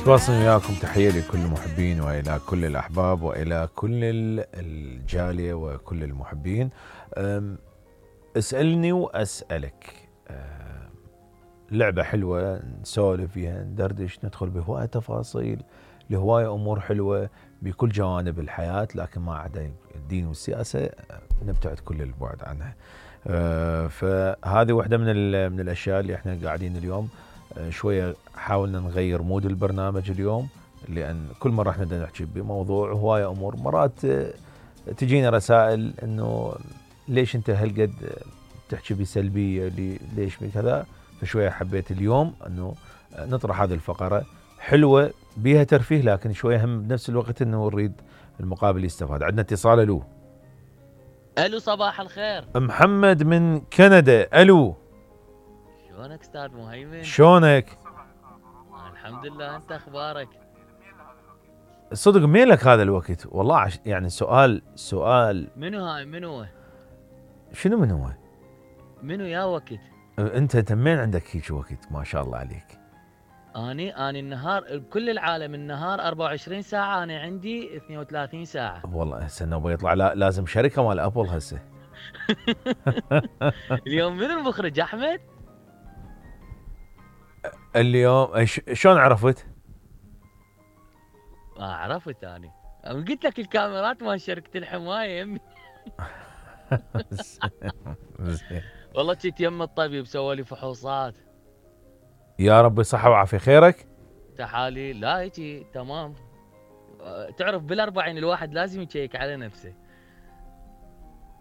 تواصل وياكم، تحية لكل المحبين وإلى كل الأحباب وإلى كل الجالية وكل المحبين. اسألني وأسألك. لعبة حلوة نسولف فيها، ندردش، ندخل بهواية تفاصيل لهواية أمور حلوة بكل جوانب الحياة، لكن ما عدا الدين والسياسة نبتعد كل البعد عنها. فهذه واحدة من الأشياء اللي احنا قاعدين اليوم شوية حاولنا نغير مود البرنامج اليوم، لأن كل مرة احنا بدنا نحكي بموضوع هواية أمور، مرات تجينا رسائل إنه ليش أنت هالقد تحكي بسلبية، ليش بكذا. فشوية حبيت اليوم إنه نطرح هذه الفقرة حلوة بيها ترفيه، لكن شوية هم بنفس الوقت إنه نريد المقابل يستفاد. عندنا اتصال. الو صباح الخير. محمد من كندا. الو، شلونك استاذ مهيمن؟ شلونك؟ الحمد لله، انت اخبارك؟ صدق ميلك هذا الوقت والله. يعني سؤال منو هاي؟ منو؟ شنو من هو؟ منو يا وقت؟ انت منين عندك هيك وقت؟ ما شاء الله عليك. اني النهار بكل العالم النهار 24 ساعة، انا عندي 32 ساعة. والله هسه النوبة يطلع لازم شركة مال ابل هسه. اليوم من المخرج احمد؟ اليوم شلون عرفت؟ عرفت اني قلت لك الكاميرات مال شركة الحماية يمي. والله جيت يم الطبيب سوى لي فحوصات. يا رب صحة وعافية. خيرك؟ تحاليل لا هيجي تمام. تعرف بالأربعين الواحد لازم يشيك على نفسه.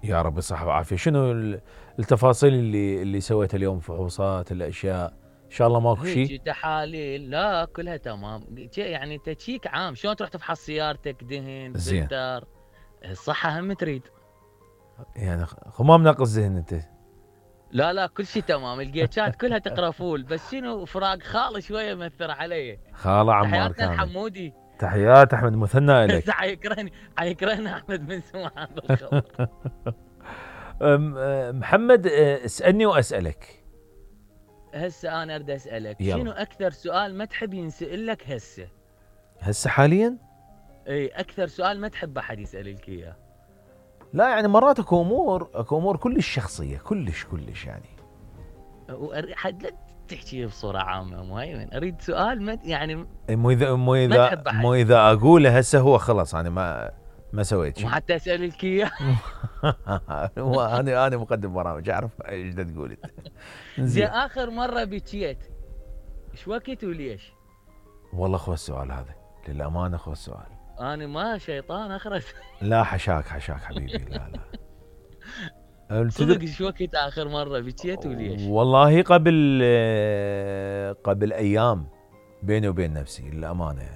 يا رب صحة وعافية. شنو التفاصيل اللي سويتها اليوم؟ فحوصات الاشياء ان شاء الله ماكو شيء؟ تحاليل لا كلها تمام، يعني تشيك عام. شلون تروح تفحص سيارتك دهن فلتر؟ الصحة هم تريد يعني خمام ناقص ذهن انت؟ لا كل شيء تمام. الجيتشات كلها تقرا فول، بس شنو فراق خالي شويه مأثر علي. خاله عمار تحياتنا الحمودي. تحيات احمد مثنى لك. حيكرهني احمد من سمع هذا الخبر. محمد اسألني واسألك. هسه انا اريد اسألك يلا. شنو اكثر سؤال ما تحب ينسأل لك هسه حاليا؟ اي اكثر سؤال ما تحب احد يسألك اياه. لا يعني مرات اكو امور كلش شخصيه، كلش يعني. حد لا تحكي بصوره عامه مهيمن، اريد سؤال ما يعني مو اذا اقوله هسه هو خلص انا ما سويت شيء. وحتى اسالك اياه. انا مقدم برامج اعرف ايش تقول انت. زين اخر مره بكيت ايش وقت وليش؟ والله خو السؤال هذا للامانه، خو السؤال. انا ما شيطان اخرس. لا حشاك حبيبي. لا صدق ايش وقت اخر مره بكيت وليش؟ والله قبل ايام بيني وبين نفسي للامانه يعني.